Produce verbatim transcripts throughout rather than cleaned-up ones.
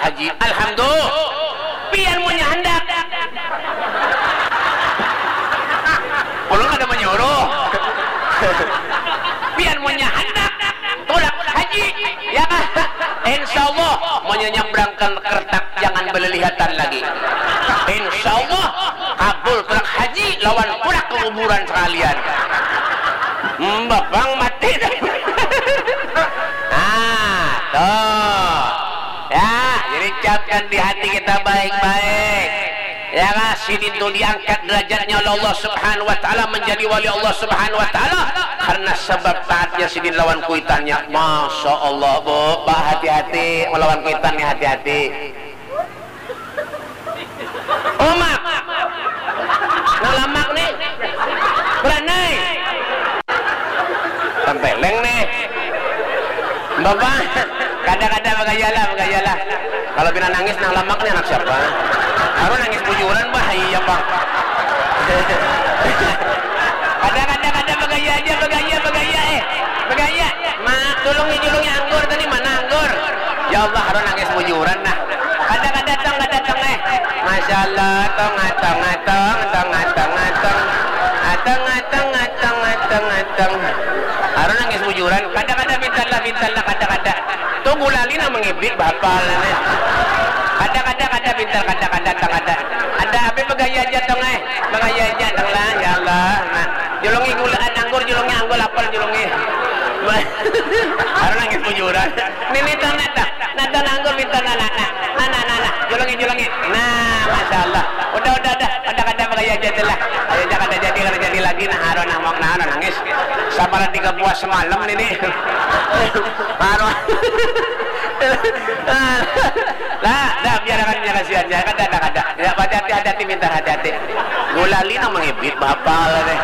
Haji. Alhamdulillah. Pian munnya handak. Ulun kada manyuruh. Pian munnya handak tulak haji, ya kah? Insya Allah, munnya nyabrangkan kertak jangan balilihatan lagi. Insya Allah, kabul tulak haji lawan tulak ke kuburan sekalian. Mbapang mati. Nah, tuh. Ya, jadi capkan di hati kita baik-baik. Ya kah, sidin tu diangkat derajatnya oleh Allah Subhanahu wa Ta'ala, menjadi wali Allah Subhanahu wa Ta'ala karena sebab taatnya sidin lawan kuitannya. Masya Allah, Bu, Pak, hati-hati melawan kuitan nih, hati-hati. Omak. Nang lamak nih. Beranai. Tempeleng nih. Bapak, kada-kada bagaya lah, bagaya lah. Kalau pina nangis nang lamak nih anak siapa? Harus nangis bujuran, bah, iya, Bang. Kada, kada, kada, bagaya aja, bagaya, bagaya, eh. Bagaya. Ma, tulungi, julungi anggur tadi, mana anggur? Ya Allah, harus nangis bujuran, nah. Kada, kada, tong, kada, tong, eh. Masya Allah, tong, tong, tong, tong, tong, tong. Atong, atong, atong, atong, atong. Harus nangis bujuran. Kada, kada, pintar lah, pintar lah, kada, kada. Tu gulali nang mangibit, bahapal, nah. Kada, kada, kada, pintar, kada, kada, tong, kada. Ada apa bagaya aja, tong, eh. Bagaya aja, tong lah, ya Allah. Nah, julungi gula, anggur, julungi anggur, apel, julungi. Harus nangis bujuran. Nini, tong, nah, tong. Nah, tong, anggur, pintar, nah, nah, nah. Nah, nah, nah, nah. Julungi, julungi. Nah, Masya Allah. Udah, udah, udah. Kada, kada, bagaya aja tu lah. Ayo, jangan ada jadi, kada jadi lagi. Nah, harus, nah, mau, nah, harus nangis. Sabaran tiga buah semalam nini. Harus. Lah, dah, biar akan, biar kasihan, ya, kada, kada, kada. Ya, hati-hati, hati-hati, pintar, hati-hati. Gulali nang mangibit, bahapal, deh.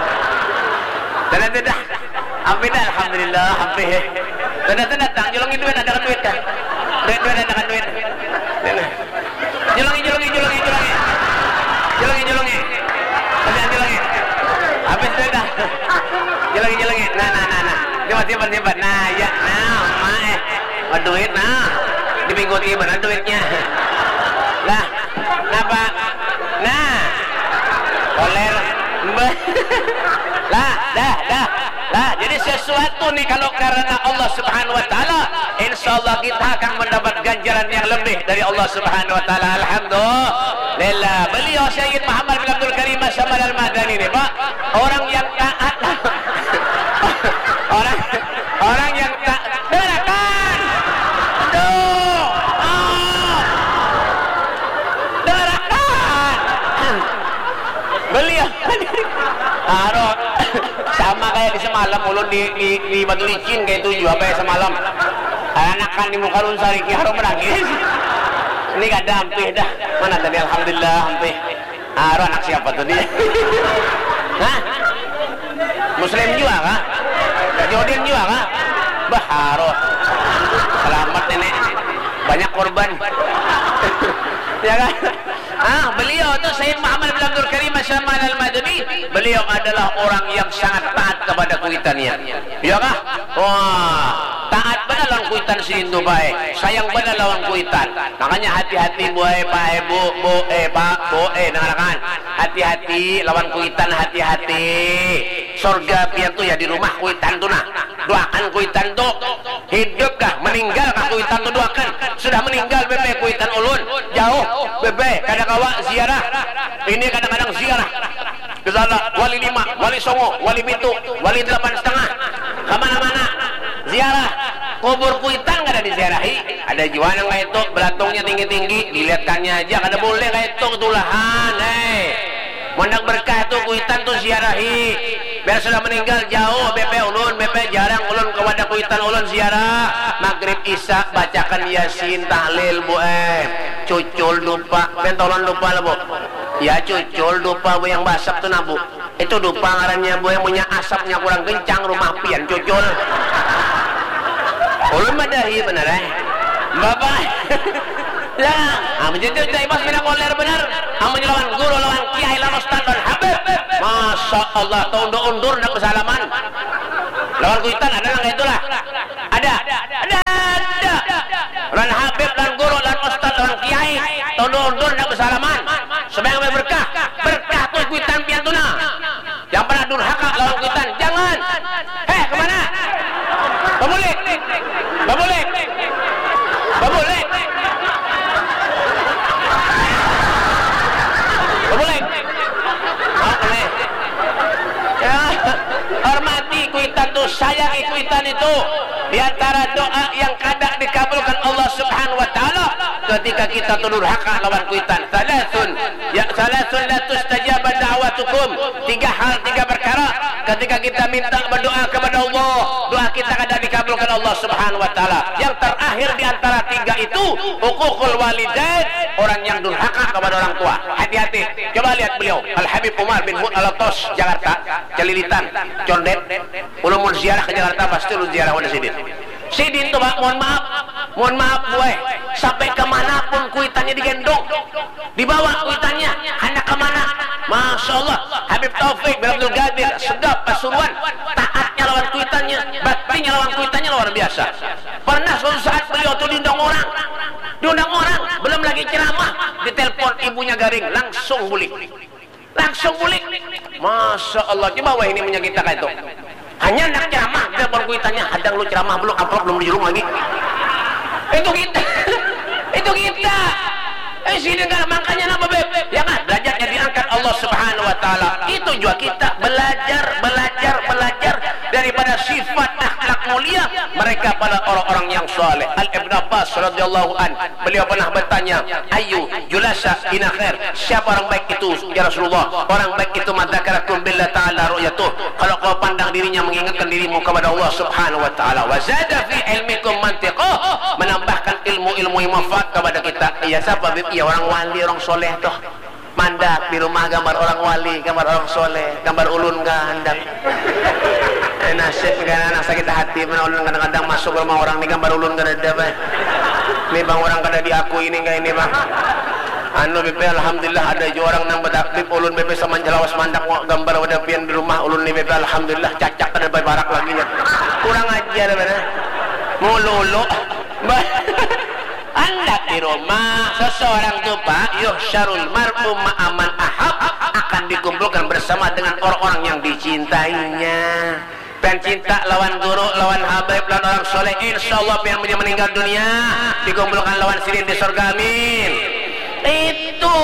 Dah, dah, dah, dah. Ampih dah, alhamdulillah, ampih. Dah, dah, dah, datang, julungi duit, ada kan duit, kan? Duit, duit, ada kan duit? Dah, dah. Julungi, julungi, julungi, julungi. Julungi, julungi. Ada julungi. Habis duit dah. Julungi, julungi. Nah, nah, nah, nah. Simpan, simpan, simpan. Nah, ya, nah, ma, eh. Baduit, nah. Dimingguti banar duitnya. Lah, napa? Nah. Koler. Mbah. Lah, dah, dah. Lah, jadi sesuatu nih kalau karena Allah Subhanahu wa Ta'ala, insya Allah kita akan mendapat ganjaran yang lebih dari Allah Subhanahu wa Ta'ala. Alhamdulillah. Beliau Sayyid Muhammad bin Abdul Karim As-Samad Al-Madani nih, Pak. Orang yang taat. Orang, orang yang tak, dengarkan. Aduh. Ah. Dengarkan. Beliau. Aro. Sama kayak di semalam ulun di, di, di Batu Licin kayak itu juga apa ya semalam. Anakan di muka ulun sariki harum menangis. Ini kada ampih dah. Mana tadi, alhamdulillah, ampih. Aro anak siapa tuh dia? Hah? Muslim juga kah? Yahudin juga kah? Bah, aro. Selamat nenek. Banyak korban. Ya kan? Ah, beliau tu Sayyid Muhammad bin Abdul Karim As-Samad Al-Madani, beliau adalah orang yang sangat taat kepada kuitannya. Ya kah? Wah, taat banar lawan kuitan sidin tu, bae. Sayang banar lawan kuitan. Makanya hati-hati, buai, pae, bu, bu, eh, pak, bu, eh, dengarkan. Hati-hati lawan kuitan, hati-hati. Sorga pian tu ya di rumah kuitan tu, nah. Doakan kuitan tu. Hidup kah, meninggal kah kuitan tu, doakan. Sudah meninggal, bebe, kuitan ulun. Jauh, bebe, kada kawa ziarah. Ini kadang-kadang ziarah. Ke sana, wali lima, wali songo, wali pitu, wali delapan setengah. Kemana-mana. Ziarah. Kubur kuitan kada diziarahi. Ada jua nang kayak itu, belatungnya tinggi-tinggi, dilihatkannya aja. Kada boleh kayak itu, ketulahan, eh. Mun handak berkah tu kuitan tu ziarahi. Biar sudah meninggal jauh, bebe ulun, bebe jarang ulun kepada kuitan ulun ziarah. Maghrib, isya, bacakan Yasin, tahlil, bu, eh. Cucul dupa, pentolon dupa lah, bu. Ya, cucul dupa, bu, yang basap tu, nah, bu. Itu dupa ngarannya, bu, yang punya asapnya kurang kencang, rumah pian, cucul. Ulun madahi benar, eh. Bapak. Ya, amun jadi cai bos mina koler benar. Amun lawan guru, lawan kiai, lawan ustaz, lawan habib. Masya Allah, taundur-undur nak bersalaman. Lawan kuitan ada nang kayak itulah. Ada. Ada, ada. Lawan habib, lawan guru, lawan ustaz, lawan doa yang kada dikabulkan Allah Subhanahu wa taala ketika kita tu durhaka lawan kuitan. Salasun, ya, salasun la tustajabu da'watukum. Tiga hal, tiga perkara ketika kita minta berdoa kepada Allah, doa kita kada dikabulkan Allah Subhanahu wa taala. Yang terakhir di antara tiga itu, uququl walidain, orang yang durhaka kepada orang tua. Hati-hati. Coba lihat beliau, Al Habib Umar bin Hud Alatas, Jakarta, Celilitan, Condet. Ulun mun ziarah ke Jakarta pasti ulun ziarah wadah sidin. Sidin tu, Pak, mohon maaf, mohon maaf buai, sampai ke mana pun kuitannya digendong, dibawa kuitannya, handak ke mana. Masya Allah, Habib Taufik bin Abdul Qadir, Segaf, Pasuruan, taatnya lawan kuitannya, baktinya lawan kuitannya luar biasa. Pernah suatu saat beliau tu diundang orang, diundang orang, belum lagi ceramah, ditelepon ibunya garing, langsung bulik. Langsung bulik. Masya Allah, coba wahini menyakit kita itu. Hanya nak ceramah, kita baru kuitannya, hadang lu ceramah belum, amplop belum dijulung lagi. Itu kita. Itu kita. Eh, sini kan makanya apa, Beb? Ya kan, derajatnya diangkat Allah Subhanahu wa taala. Itu juga kita belajar, belajar, belajar daripada sifat akhlak mulia mereka pada orang-orang yang saleh. Al Ibn Abbas radhiyallahu an, beliau pernah bertanya, "Ayu julasa ina khair?" Siapa orang baik itu, ya Rasulullah? Orang baik itu, "Man dzakarakum billah ta'ala ru'yatuh." Kalau kau pandang dirinya mengingatkan dirimu kepada Allah Subhanahu wa taala. "Wa zada fi ilmikum mantiqah." Menambahkan ilmu-ilmu yang manfaat kepada kita. Iya, siapa, Bib? Iya, orang wali, orang soleh tuh. Mandak di rumah gambar orang wali, gambar orang soleh, gambar ulun kah handak. Eh, nasib, kan anak sakit hati, mana ulun kadang-kadang masuk rumah orang ni gambar ulun kada ada, bah. Ini bang, orang kada diakui ini, enggak ini, bang. Anu, B P, alhamdulillah ada jua orang nang bataklip, ulun, B P, sama jelawas mandak wa-, gambar wadah pian di rumah ulun ni, B P, alhamdulillah, cacak kada babarak lagi nya. Kurang ajar, mana? Mulu-ulu. Bah. Handak di rumah, seseorang tu, Pak, yuhsyarul mar'u ma'a man ahab, akan dikumpulkan bersama dengan orang-orang yang dicintainya. Pian cinta lawan guru, lawan habaib, lawan orang soleh, insya Allah pian munnya meninggal dunia, dikumpulkan lawan sidin di sorga, amin. Itu.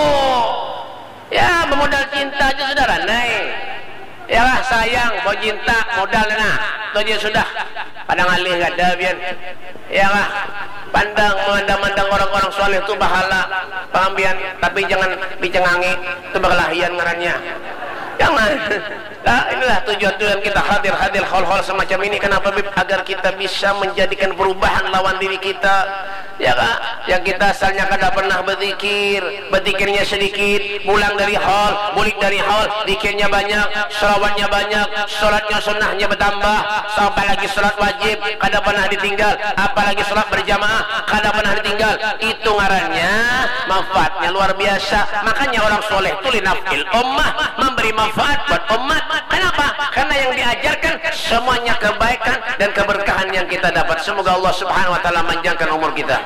Ya, bemodal cinta aja sudah ranai. Ya lah, sayang, bau cinta, modal nah. Itu aja sudah. Pada ngalih kada, pian. Ya lah, pandang, memandang-mandang orang-orang soleh tu bahala, paham pian? Tapi jangan dicengangi, itu berkelahian ngarannya. Jangan. Nah, inilah tujuan-tujuan kita hadir, hadir hal-hal semacam ini. Kenapa, Bib? Agar kita bisa menjadikan perubahan lawan diri kita. Ya kah? Yang kita asalnya kada pernah berzikir, berzikirnya sedikit, pulang dari hal, bulik dari hal, zikirnya banyak, selawatnya banyak, sholatnya sunnahnya bertambah, apalagi sholat wajib, kada pernah ditinggal, apalagi sholat berjamaah, kada pernah ditinggal. Itu ngarannya manfaatnya luar biasa. Makanya orang soleh tu linaf'il ummah, memberi manfaat buat umat. Kenapa? Karena yang diajarkan semuanya kebaikan dan keberkahan yang kita dapat. Semoga Allah Subhanahu wa taala manjangkan umur kita.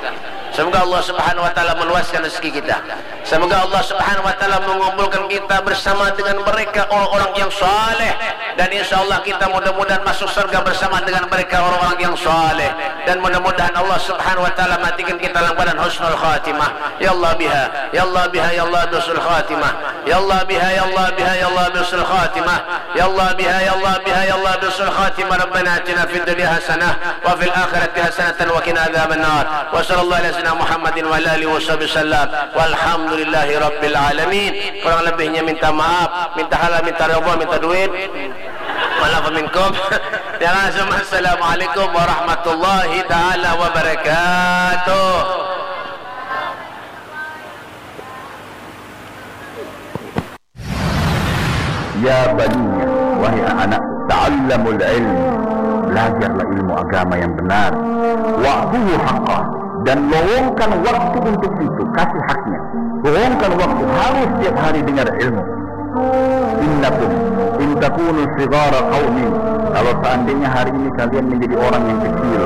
Semoga Allah Subhanahu wa taala meluaskan rezeki kita. Semoga Allah Subhanahu wa taala mengumpulkan kita bersama dengan mereka orang-orang yang saleh, dan insya Allah kita mudah-mudahan masuk surga bersama dengan mereka orang-orang yang saleh, dan mudah-mudahan Allah Subhanahu wa taala matikan kita dalam keadaan husnul khatimah. Ya Allah biha, ya Allah biha, ya Allah bi husnul khatimah. Ya Allah biha, ya Allah biha, ya Allah bi husnul khatimah. Ya Allah biha, ya Allah biha, ya Allah bi husnul khatimah. Rabbana atina fid dunya hasanah wa fil akhirati hasanatan wa qina adzabannar. Wa sallallahu ala sayyidina Muhammadin wa ala alihi wa sahbihi wasallam. Walhamdulillahi rabbil alamin. Kurang lebihnya minta maaf, minta halal, minta ridha, minta duit. Maaf minkum. Ya langsung, assalamualaikum warahmatullahi taala wabarakatuh. Ya baniya, wahai anak-anakku, ta'allamul ilm, belajarlah ilmu agama yang benar. Wa'tuhu haqqah, dan lowongkan waktu untuk itu, kasih haknya. Lowongkan waktu, harus setiap hari dengar ilmu. Innakum in takunu sigara qaumin, kalau seandainya hari ini kalian menjadi orang yang kecil,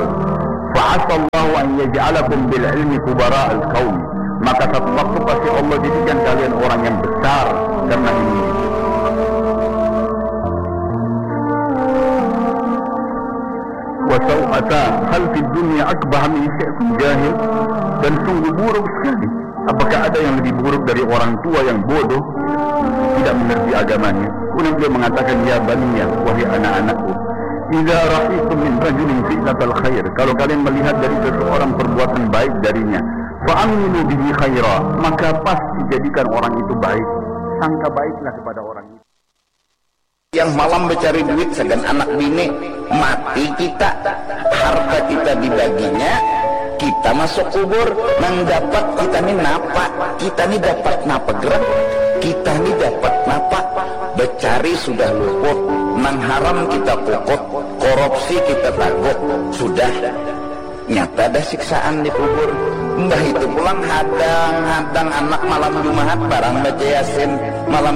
fa'asallahu an yaj'alakum bil ilmi kubara al qaum, maka satu waktu pasti Allah jadikan kalian orang yang besar karena ilmu. Wa sau'ata hal fid dunya akbah min syi'kum jahil, dan sungguh buruk sekali. Apakah ada yang lebih buruk dari orang tua yang bodoh, tidak mengerti agamanya? Kemudian beliau mengatakan, ya baniya, wahai anak-anakku, Idza ra'aitum min rajulin fi'latal khair, kalau kalian melihat dari seseorang perbuatan baik darinya, fa amilu bihi khaira, maka pasti jadikan orang itu baik, sangka baiklah kepada orang itu. Yang malam mencari duit sagan anak bini, mati kita, harta kita dibaginya, kita masuk kubur, nang dapat kita ni napa, kita ni dapat napa gerak, kita ni dapat napa, becari sudah luput, nang haram kita kukut, korupsi kita taguk, sudah nyata dah siksaan di kubur. Mbah itu pulang hadang-hadang anak malam Jumahat barang baca Yasin, malam